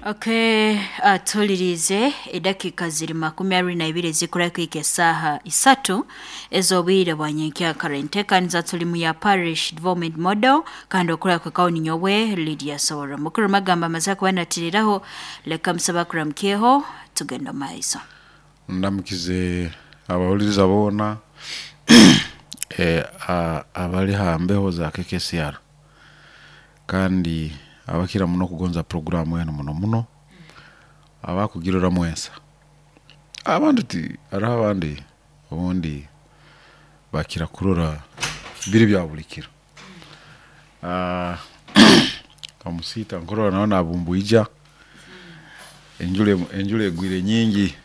Okay, tulirize edakika ziri 22 ezikura kwika esaaha 3 ez'obwire bwa nyenkyakara. Enteekaniza tulimu ya Parish Development Model kandi okura kwekaho ninyowe Lydia Sowora. Mukuru magamba amaze kuba natiriraho, leka musaba kuramukyeho tugenda maiso. Ndamukize abahuliriza boona abali ha mbeho za KKCR kandi abakira muno okugonza puroguramu enu muno muno abakugiroramu ensa. Abandi ti haroho abandi obundi bakira kurora biri bya buli kiro. Omusiita nkurora nawe nabumbwija, enjura egwire nyingi,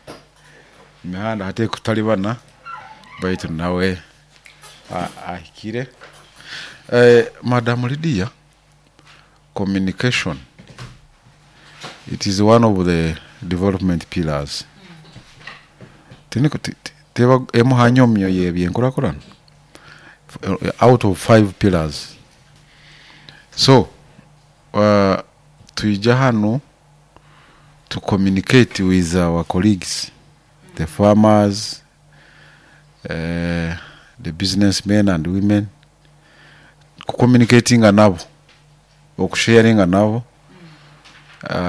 emihanda hati ekutalibana baitu nawe ahikire. Madam Lydia, communication it is one of the development pillars. Teba emu ha nyomyo y'ebyenkurakurana out of 5 pillars. So twija hanu to communicate with our colleagues, the farmers, the businessmen and women, kucommunicatinga nabo, okusharinga nabo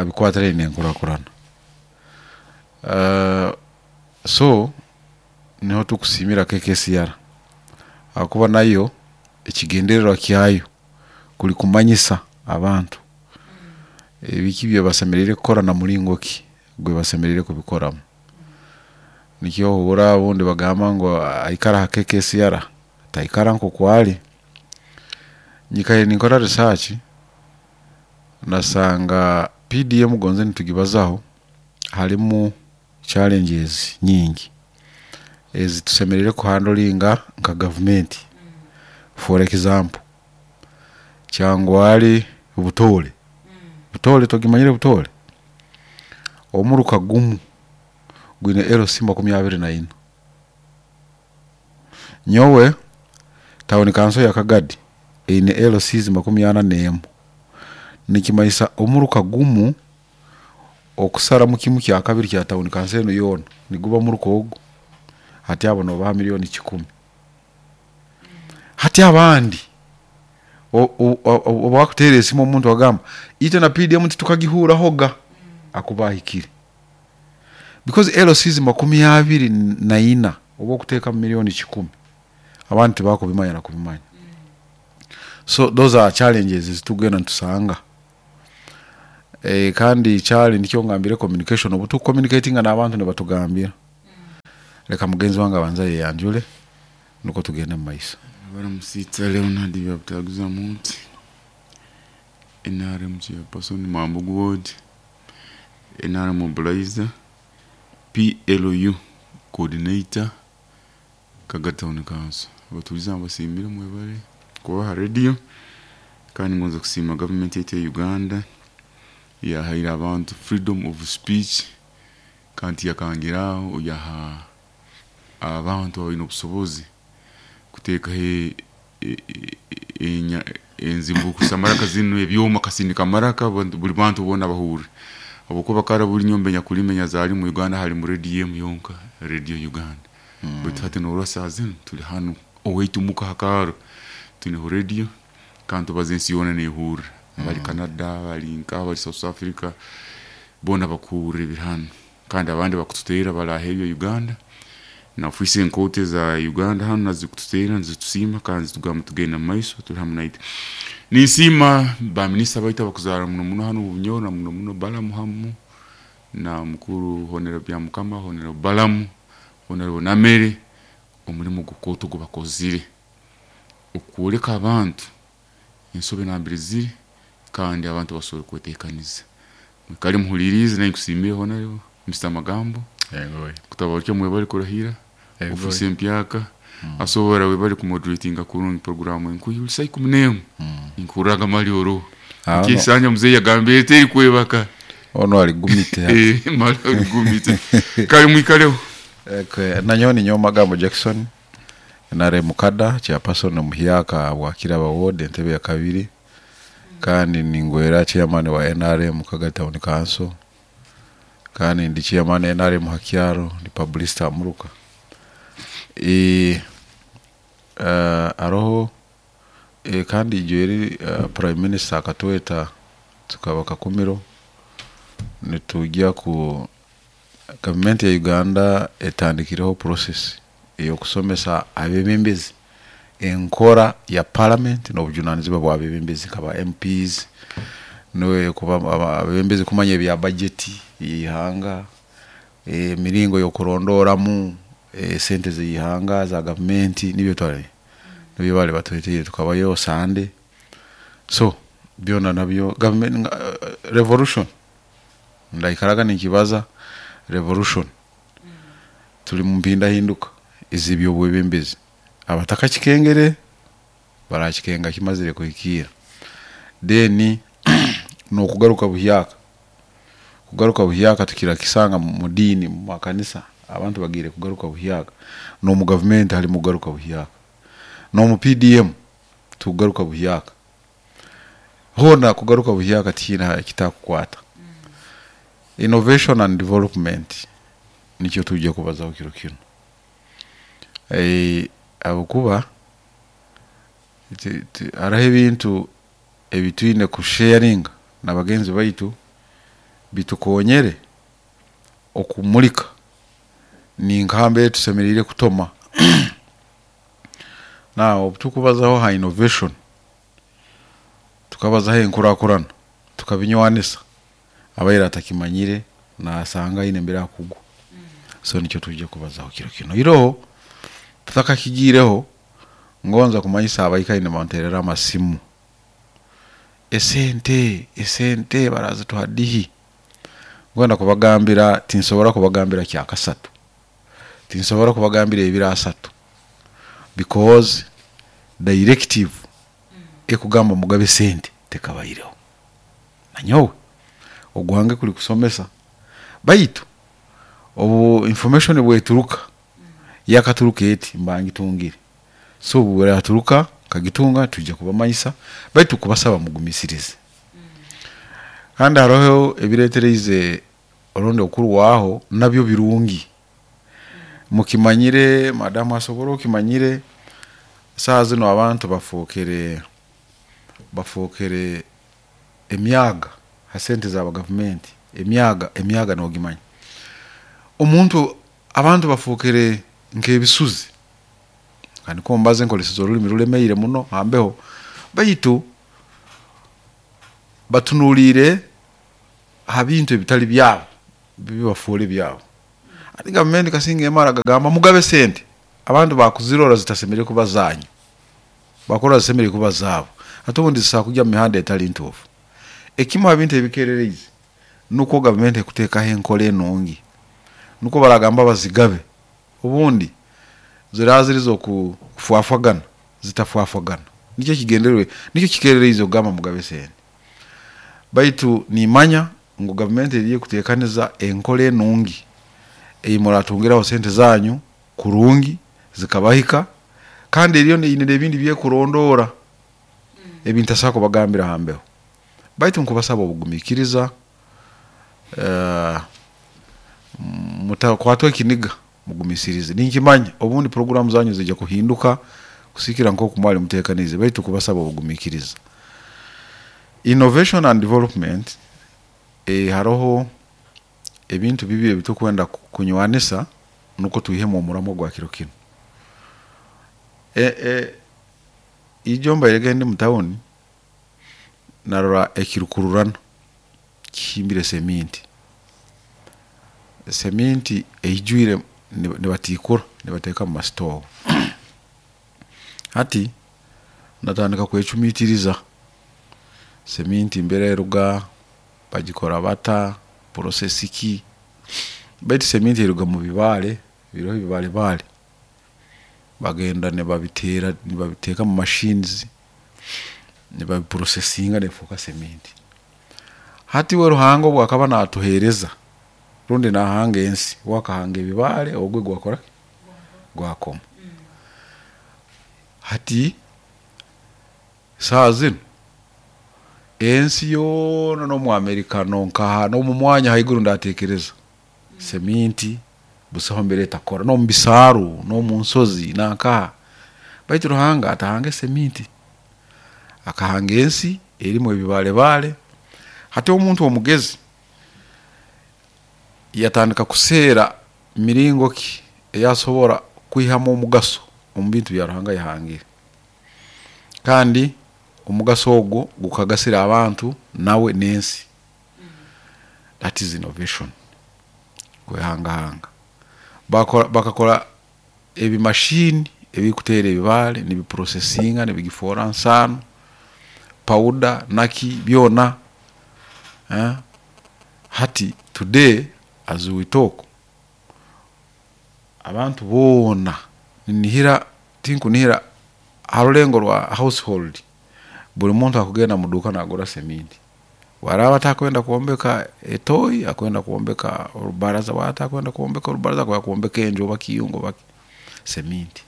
bikwatiraine n'enkurakurana. So niho tukusiimira KKCR ahakuba nayo ekigendererwa kyayo kuri kumanyisa abantu ebiki ebibasemeriire kukora na muringo ki ogu basemeriire kubikoramu. Nikyo ohurra obundi bagamba ngu aikara ha KKCR taikara nk'oku ari. Nyikaire ninkora research nasanga PDM gonze nitugibazaho harimu challenges nyingi ezi tusemeriire kuhandolinga nka gavumenti. For example, Kyangwali Butoore, Butoore togimanyire Butoore? Omuruka gumu gwine LC 24. Nyowe tawuni kanso ya Kagadi eine LCs 41. Nikimanyisa omuruka gumu okusaramu kimu kya kabiri kya tawuni kanso enu yoona niguba muruka ogu, hati abo nobaha milioni 10. Hati abandi obu bakuteera esimu omuntu agamba itwe na PDM titukagihurahoga akuba ahikire. Because LCs 24 obu okuteekamu milioni 10 abandi tibakubimanya na kubimanya. So those are challenges ezitugenda nitusanga. Kandi challenge nikyo ngambire communication, obu tukucommunicatinga n'abantu nibatugambira. Leka mugenzi wange abanze ayeyanjure nukwo tugende omu maiso. Baramusitsa Leonard Byabutaguza Munti, NRM chairperson Mwambugu Ward, NRM mobilizer, PLU coordinator, Kaga Town Council. Abatuuze mbasiimire mwebale kuba aha radio kandi ngonza kusiima gavumenti yaitu eya Uganda yahaire abantu freedom of speech kandi tiyakangira aho yaha abantu abaine obusobozi kuteekaho enzimbukusa maraka zinu ebyoma kasindika maraka buli bantu boona bahurre habwokuba kara buli nyumba enyakulima enyazaarwa mu Uganda halimu radio emu yonka, Radio Uganda. Baitu hati norora saaha zinu tuli hanu owaitu muka ha kaaro twineho radio kandi tubaza ensi yoona nehurra. Abali Canada, abali nkaha, abali South Africa boona bakuhurra ebiri hanu kandi abandi bakututeerra bali aheeru ya Uganda na ofiisi enkooto eza Uganda hanu nazo zikututeerra nizitusiima kandi nizitugamba tugende mumaiso tuli hamu naitwe. Ninsiima ba minisita baitu abakuzaarwa muno muno hanu Bunyoro na muno muno Balaam hamu na mukuru Honorable Byamukama, Honorable Balaam, Honorable Namere omurimo gukooto ogu bakozire okwoleka abantu ensobi nambere ziri kandi abantu basobole kweteekaniza. Mwikale muhuliirize nanye nkusiimire Honorable Mr. Magambo kutabarukya mwebale kurahira ofiisi empyaka asobora webale kumoderatinga kurungi programu enkuyu saa 11 nkuhurraga mali oroho nkisanja muzeeyi yagambire teri kwebaka. Onu aligumite hati. Mali aligumite. Kale mwikaleho. Nanyowe ninyowe Magambo Jackson, NRM Mukada, chairperson omuhyaka bwa Kiraba ward entebe ya kabiri. Kandi ningwera chairman wa NRM Kagadi Town Council, kandi ndi chairman NRM Hakyaro, ndi publicist amuruka. Aroho kandi ijo eri prime minister akatweta tukaba Kakumiro, nitujya ku gavumenti ya Uganda etandikireho process ey'okusomesa abebembezi enkora ya parliament n'obujunanizibwa bw'abebembezi nkaba MPs, niwe kuba abebembezi kumanya ebya budget y'ihanga, emiringo y'okurondoramu sente z'ihanga za gavumenti, nibyo twari nibyo bali batwetire tukabayo Sande. So byona nabyo government revolution ndaikaraga nikibaza revolution tuli mu mpindahinduka ez'ebyobwebembezi, abatakakikengere barakikenga kimazire kuhikiira. Then n'okugaruka buhyaka, kugaruka buhyaka tukirakisanga mu diini, mu makanisa abantu bagiire kugaruka buhyaka, n'omu gavumenti halimu kugaruka buhyaka, n'omu PDM tukugaruka buhyaka, hoona kugaruka buhyaka tihiine ekitakukwata. Innovation and development nikyo tujja kubazaho kiro kinu. Habwokuba hariho ebintu ebitwine kusharinga na bagenzi baitu bitukonyere okumulika ninka mbere tusemeriire kutoma. Now obu tukubazaho ha innovation, tukabazaho enkurakurana, tukabinywanisa, abaire atakimanyire nasanga aine mbere akugwa. So nikyo tujja kubazaho kiro kinu. Iroho tutakakigiireho, ngonza kumanyisa abaikaire nibanterera amasimu, esente barazituha dihi? Ngwenda kubagambira tinsobora kubagambira kyakasatu, tinsobora kubagambira ebiro asatu, because directive ekugamba mugabe sente tekabaireho. Nanyowe ogwange kuli kusomesa, baitu obu information bweturuka yakaturuka eti mba ngitungire, so obu buraturuka nkagitunga tujja kubamanyisa, baitu kubasaba mugumisirize. Kandi haroho ebiretereize orundi okurwaho nabyo birungi, mukimanyire madamu asobora okimanyire, saaha zinu abantu bafookere emyaga ha sente za gavumenti, emyaga nogimanya. Omuntu abantu bafookere nk'ebisuzi, kandi ko mbaze nkozeseze orulimi rulemeire muno hambeho, baitu batunuliire ha bintu ebitali byabo bibafoole byabo. Hati gavumenti kasinga emara gagamba mugabe sente, abantu bakuzirora zitasemeriire kuba zanyu, bakurora zisemeriire kuba zaabo, hati obundi zisobora kujya mu mihanda etali ntuufu. Ekimu ha bintu ebikereriize nukwo gavumenti ekuteekaho enkora enungi, nukwo baragamba bazigabe, obundi ziraba ziri z'okufwafwagana zitafwafwagana, nikyo ekigendererwa nikyo kikereriize okugamba mugabe sente. Baitu nimanya ngu gavumenti eriyo ekuteekaniza enkora enungi ei muratungiraho sente zanyu kurungi zikabahika, kandi eriyo eine n'ebindi byekurondoora ebintasobola kubagambira hambeho. Baitu nkubasaba obugumiikiriza, mutakwatwa ekiniga, mugumisirize. Ninkimanya obundi puroguramu zanyu ziija kuhinduka kusiikira nk'oku mwali muteekaniize, baitu kubasaba obugumiikiriza. Innovation and development, haroho ebintu bibiri ebitukwenda kunywanisa nukwo twihemu omuramwa gwa kiro kinu. Ijo mbairege ndi mu tawuni narora ekirukururana kihimbire seminti, seminti eijwire nibatiikura nibateeka mu masitoowa. Hati natandika kwecumiitiriza, seminti mbere eruga, bagikora bata, process ki, baitu seminti eruga mu bibaale, biroho ebibaale baale, bagenda nibabiteera nibabiteeka mu machines, nibabiprocessinga nefooka seminti. Hati uwe Ruhanga obu akaba naatuheereza rundi nahanga ensi, uwe akahanga ebibaale ogwe gwakora ki? Gwakoma. Hati saaha zinu Ensi yoona n'omu Amerika nonkaha n'omu mwanya haiguru ndateekereza seminti busaho mbere etakora, n'omu bisaaru, n'omu nsozi nankaha. Baitu Ruhanga atahange seminti, akahanga ensi erimu ebibaale baale. Hati omuntu omugezi yatandika kuseera miringo ki ei asobora kwihamu omugaso omu bintu bya Ruhanga yahangire, kandi omugaso ogu gukagasira abantu nawe n'ensi. That is innovation, kwehangahanga. Bakakora ebimashini ebikuteera ebibaale nibiprocessinga nibigifoora nsaano, powder naki byona. Hati today as we talk, abantu boona ninihira, tinkunihira ha rulengo rwa household, buli muntu akugenda muduuka nagura seminti. Obu araaba atakwenda kwombeka etoyi, akwenda kwombeka orubaraza, obu araaba atakwenda kwombeka orubaraza akwenda kwombeka enju oba kiyungu oba ki, seminti.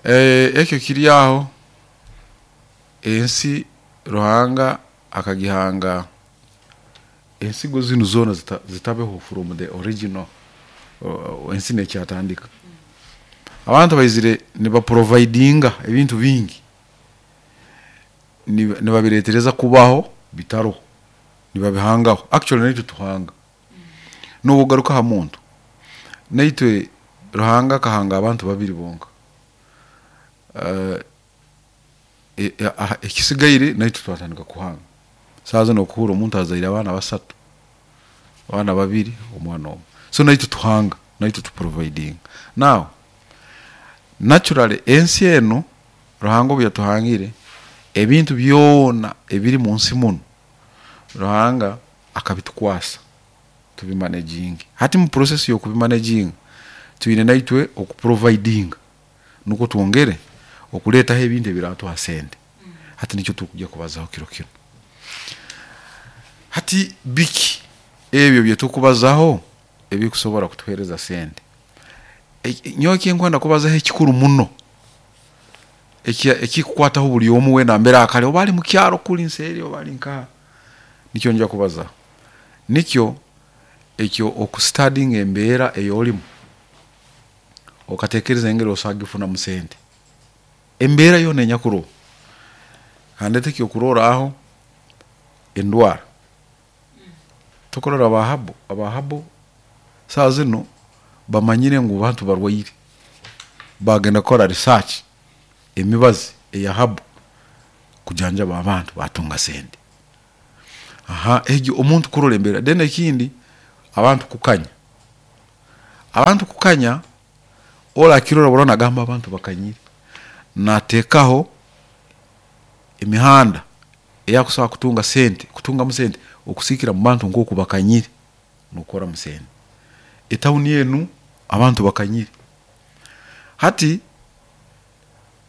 Ekyo kiri aho, ensi Ruhanga akagihanga ensigo zinu zoona zitabeho from the original, ensi nekyatandika. Abantu baizire nibaprovidinga ebintu bingi, nibabireetereza kubaho bitaroho, nibabihangaho. Actually naitwe tuhanga. Nobu ogaruka ha muntu, naitwe Ruhanga akahanga abantu babiri bonka. Ekisigaire naitwe twatandika kuhanga. Saaha zinu okuhuurra omuntu azaire abaana basatu, abaana babiri, omwana omu. So naitwe tuhanga, naitwe tuprovidinga. Now, naturally ensi enu Ruhanga obu yatuhangire, ebintu byona ebiri munsi munu, Ruhanga akabitukwasa tubimanaginge. Hati mu process y'okubimanaginga, twine naitwe okuprovidinga nukwo twongere okureetaho ebintu ebiratuha sente. Hati nikyo tukujya kubazaho kiro kinu. Hati biki ebi ebitukubazaho ebikusobora kutuheereza sente? Nyowe ekinkwenda kubazaho ekikuru muno, ekikukwataho buli omu weena mbere akari, oba ali mukyaro kuri nseeri oba ali nkaha, nikyo njya kubazaho. Nikyo ekyo okustadinga embeera ei orimu, okateekereza engeri osobola kugifunamu sente. Embeera yoona enyakuroho, kandeete ekyokurorraho endwara. Tokurora aba herbal saaha zinu bamanyire ngu abantu barwaire, bagenda kukora research emibazi eya herbal kujanjaba abantu batunga sente. Egyo omuntu kurora embeera. Then ekindi abantu kukanya, abantu kukanya ori akirora burora nagamba abantu bakanyire, nateekaho emihanda ei akusobora kutunga sente, kutungamu sente okusiikira mu bantu nk'oku bakanyire nokukoramu sente. Etawuni enu abantu bakanyire, hati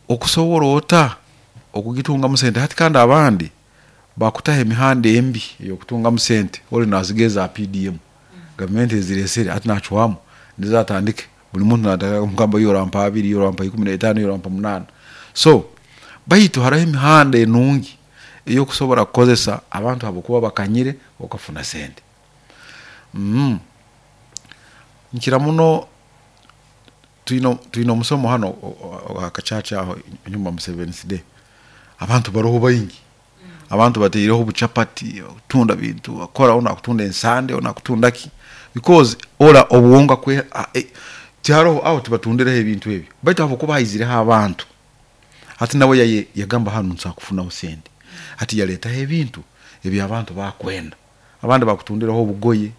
okusobora ota okugitungamu sente? Hati kandi abandi bakutaho emihanda embi ey'okutungamu sente, ori nasiga eza PDM, gavumenti ezireesere hati nacwamu nizo atandike, buli muntu natandika kumugamba iwe orampa abiri, iwe orampa ikumi n'etaano, iwe orampa munaana. So baitu haroho emihanda enungi ey'okusobora kukozesa abantu habwokuba bakanyire okafuna sente. Nkira muno twine omusomo hanu aha church aho enyuma mu Seventh Day, abantu baroho baingi, abantu bataireho obuchapati, kutunda bintu, bakora onu akutunda ensande, onu akutunda ki, because ora obuwonga tiharoho aho tibatundireho ebintu ebi, baitu habwokuba haizireho abantu, hati nawe yagamba hanu nsobola kufunaho sente. Hati yaleetaho ebintu ebi abantu bakwenda. Abandi bakutundiraho obugoye,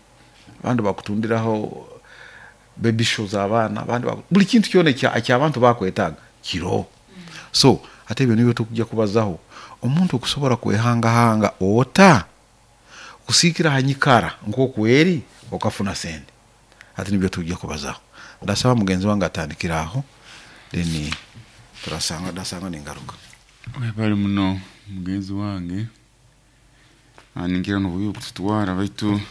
abandi bakutundiraho baby show z'abaana, abandi buli kintu kyona eky'abantu bakwetaaga kiroho. So hati ebyo nibyo tukujya kubazaho. Omuntu okusobora kwehangahanga ota kusiikira ha nyikara nk'oku eri okafuna sente. Hati nibyo tujya kubazaho. Ndasaba mugenzi wange atandikire aho, then turasanga ndasanga ningaruka. Webale muno mugenzi wange, ninkira n'obwire kututwara baitu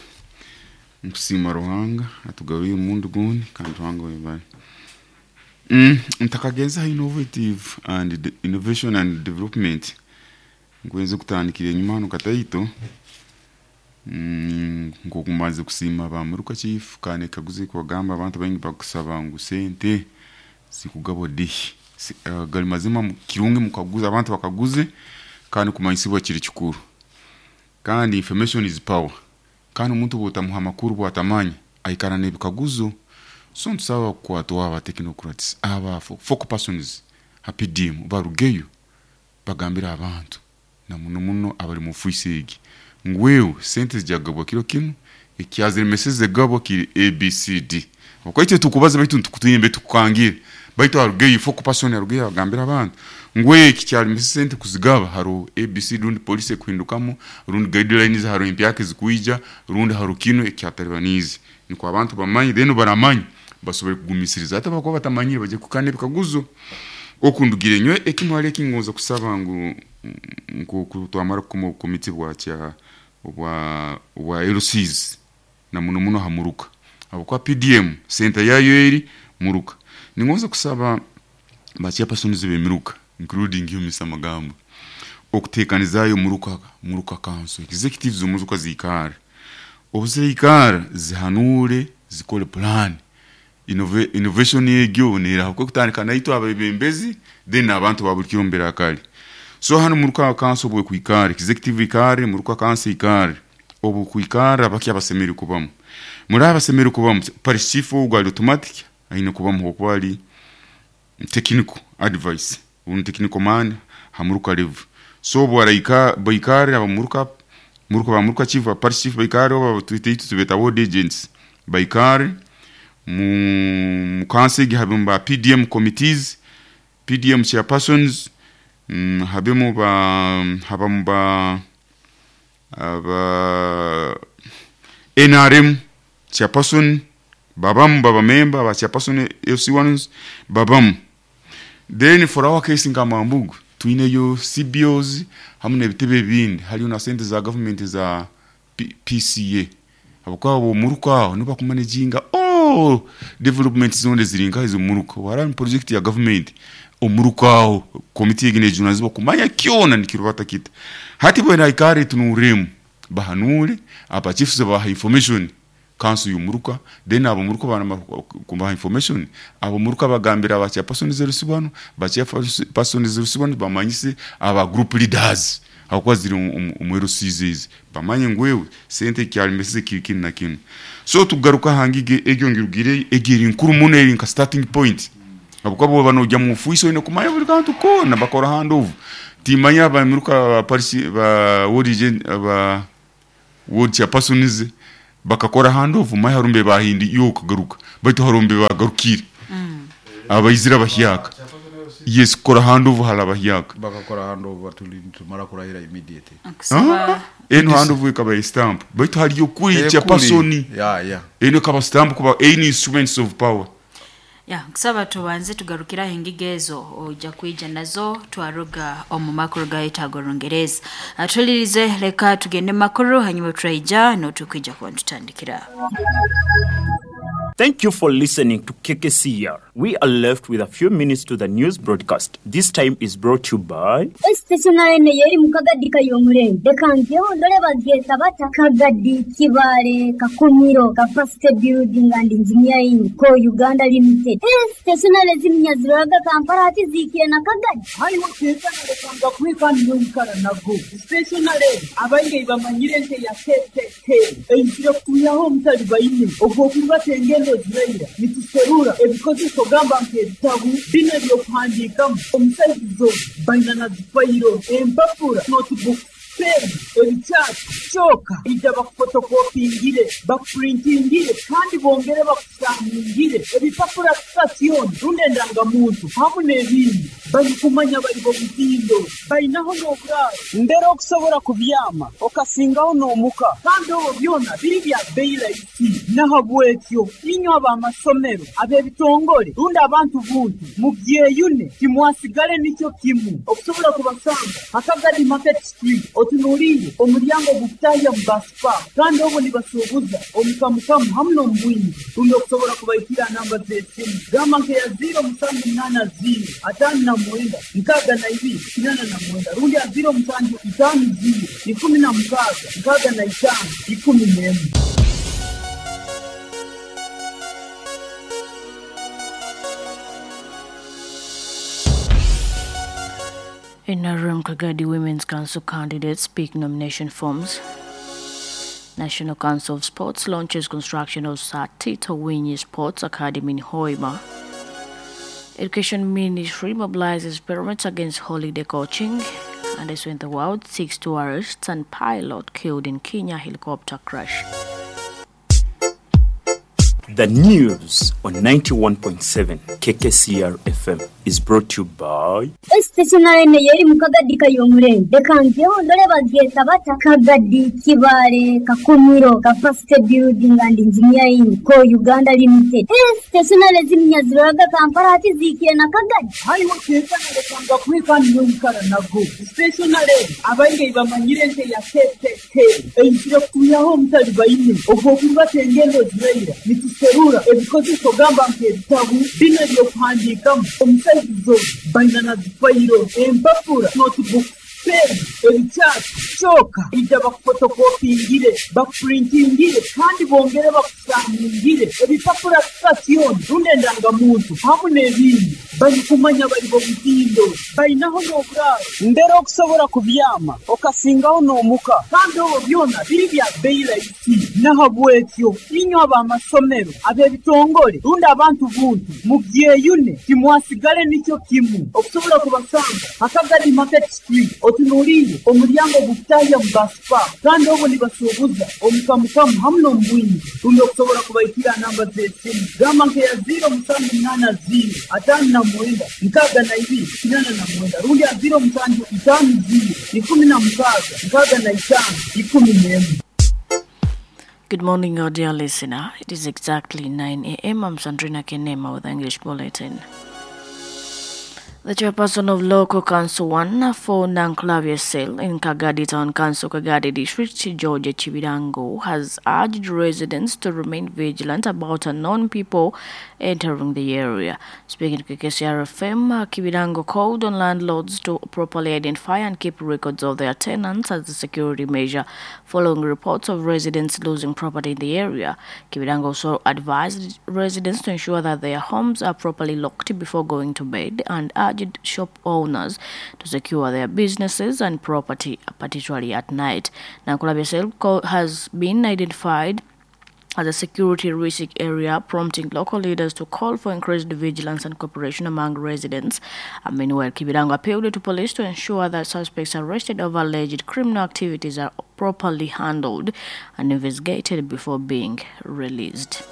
nkusiima Ruhanga atugarwire omurundi gundi kandi Ruhanga webale. Ntakagenze ha innovative and innovation and development. Nkwenze kutandikira enyuma hanu kataito. Nkokumanze kusiima ba muruka chief kandi ekaguzo ekubagamba abantu baingi bakusaba ngu sente zikugabwa dihi. Gali mazima kirungi mukaguza abantu bakaguze kandi kumanyisibwa kiri kikuru. Kandi information is power. Kandi omuntu bwotamuha amakuru bwatamanya aikara n'ebikaguzo. So ntusaba kukwatwa aba technocrats, aba focal persons ha PDM barugeyo bagambire abantu na muno muno abali mu ofiisi egi ngu wewe sente zijagabwa kiro kinu ekyaziremeseze gabwa kiri ABCD. Okaitwe tukubaza baitu ntukutwine tukukangire baitu arugeyo focal person arugeyo agambira abantu ngu eki kyalemesa sente kuzigaba haro ABC rundi police ekuhindukamu rundi guidelines haro empyaka ezikuija rundi haro kinu ekyataribanize niko abantu bamanyi then baramanyi basobole kugumisiriza hata bakuba batamanyire baje kukana ebikaguzo. Okundugire nywe ekimwali ekingonza kusaba ngu nko twamara kukoma obukomiti bwa bwa LCs na muno muno hamuruka abakwa PDM center yayo eri muruka. Ningonza kusaba ba chairpersons b'emiruka including you Mr. Magambo okutekanizayo muruka council executives z'omuruka zikara obuzikara zihanure zikole plan innovation egyo nera kutandika naitwe abebembezi then abantu babulikiro mbere akali. So hano muruka council bwe kuikara executive ikare muruka council ikare obu kuikara abaki abasemeri kubamu muri abasemeri kubamu parish chief ogwa automatic aine kubamu okwali technical advice un technical man hamuruka level. So bwaraika baikare abamuruka muruka bamuruka chief parish chief baikare oba twite tubeta ward agents baikare mu council habemu ba PDM committees, PDM chairpersons, habemu ba habamu ba aba NRM chairperson babamu baba member ba chairperson FC1s babamu. Then for our case nga Mambugu tuineyo CBOs hamwe n'ebitebe ebindi haliyo na sente za government za PCA abakwabo muruka niba kumanaginga all development zone zirinka izo muruka wara project ya government omuruka committee egine junazibwa kumanya kyona nikirubata kita hati bwena ikare tunuremu bahanure aba chiefs ba information council yumuruka then abo muruka bana kumba information abo muruka bagambira aba chairperson zerusibano ba chairperson zerusibano bamanyise aba group leaders akwa ziri umwero CZs bamanye ngwewe sente kyalimese kikini na kinu. So tugaruka hangige egyo ngirugire egiri nkuru muno eri nka starting point abukwabo bano ujya mu fuiso ine kumanya buri kantu kona bakora handover timanya ba muruka Paris ba ward ba ward chairpersons bakakora handover mai harumbe bahindi yo kagaruka baitu harumbe bagarukire abayizira bahyaka yes kora handover halabahyaka bakakora handover tumara kurahira immediately eno handover ikaba stamp baitu haliyo kuri chairperson ya eno kaba stamp kuba any instruments of power ya kusaba tubanze tugarukira hengigezo ojja kuija nazo twaruga omu makuru ga etago Rungereza. Atulirize leka tugende makuru hanyuma turaija no tukwija kwa tutandikira. Thank you for listening to KKCR. We are left with a few minutes to the news broadcast. This time is brought to you by Stationary ne yeri mukagadi kayomurenge. Dekangeho ndole bagyeta bata Kagadi Kibale Kakumiro Capacity Building and Engineering Co Uganda Limited. Stationary ziminyaziraga Kampala ati zikire na Kagadi. Hariho stationary kanga kwikani yoikara nago. Stationary abainge bamanyire nte ya KKK. Eyikire kuyaho mutali bayine. Ogwo kubatenge ziraira nituserura ebikozeso gamba nk'ebitabu bino ebyokuhandiikamu omusaizizo baina na zifayiro empapura notebook pen ebikyapa kyoka ija bakufotokopingire bakupurintingire kandi bongere bakusamingire ebipapura sitasioni rundi endangamuntu hamu n'ebindi balikumanya bali b'omutindo balinaho n'oburaaro mbere okusobola kubyama okasingaho n'omuka kandi obwo byona biri bya bbeeyi rahisi. Nahabwekyo inywe ab'amasomero ab'ebitongole rundi abantu buntu mubyeyune timwasigale nikyo kimu okusobola kubasanga Akagadi Market Street. Otunuliire omulyango ogukutahya mu basipa, kandi obu nibasuubuza omukamukamu hamu n'omubwingi. Rundi okusobora kubaikira namba z'esimu gamba nkeya 0780 59 62 89 rundi ya 0750 16 65 11. NRM Kagadi Women's Council candidates pick nomination forms. National Council of Sports launches construction of Sir Tito Winyi Sports Academy in Hoima. Education Ministry mobilizes parents against holiday coaching. And as in the world, 6 tourists and pilot killed in Kenya helicopter crash. The news on 91.7 KKCR FM is brought to you by Stationary yeri mu Kagadi kayomurembe. Reka njeho ndore bagyeta bata Kagadi Kibale Kakumiro Capacity Building and Engineering Co Uganda Limited. Stationary zimnyaziroraga Kampala ati zikire na Kagadi. Hariho kekanalekanga kwikani n'omukara nago stationary abaingi bamanyire nte ya KKK eizire kutuyaho omutali baine ogw'okurubata engendo ziraira nituserura ebikozeso gamba nk'ebitabu bino ebyokuhandiikamu omusaizizo baina na zifayiro empapura notebook pen ebikyasi kyoka ija bakufotokopingire bakupurintingire kandi bongere bakusangingire ebipapura sitasioni rundi endangamuntu hamu n'ebindi. Barikumanya bari bomutindo bainaho n'oburaaro mbere okusobora kubyama okasingaho n'omuka, kandi obwo byona biri bya bei rahisi. Nahabwekyo inywe ab'amasomero ab'ebitongole rundi abantu buntu mubyeyune timwasigale nikyo kimu. Okusobora kubasanga Akagadi Market Street otunuliire omulyango ogukutahya mu basipa, kandi obu nibasuubuza omukamukamu hamu n'omubwingi. Rundi okusobora kubaikira namba z'esimu gamba nkeya 0780 59 62 89 rundi ya 0750 16 65 11. Good morning, our dear listener. It is exactly 9 a.m. I'm Sandrina Kenema with the English Bulletin. The chairperson of Local Council 1 for Nanklavia Cell in Kagadi Town Council, Kagadi District, George Chibirango, has urged residents to remain vigilant about unknown people entering the area. Speaking to KKCR FM, Kibirango called on landlords to properly identify and keep records of their tenants as a security measure following reports of residents losing property in the area. Kibirango also advised residents to ensure that their homes are properly locked before going to bed and urged shop owners to secure their businesses and property, particularly at night. Nankulabye Cell has been identified as a security risk area, prompting local leaders to call for increased vigilance and cooperation among residents. Meanwhile, Kibirango appealed to police to ensure that suspects arrested over alleged criminal activities are properly handled and investigated before being released.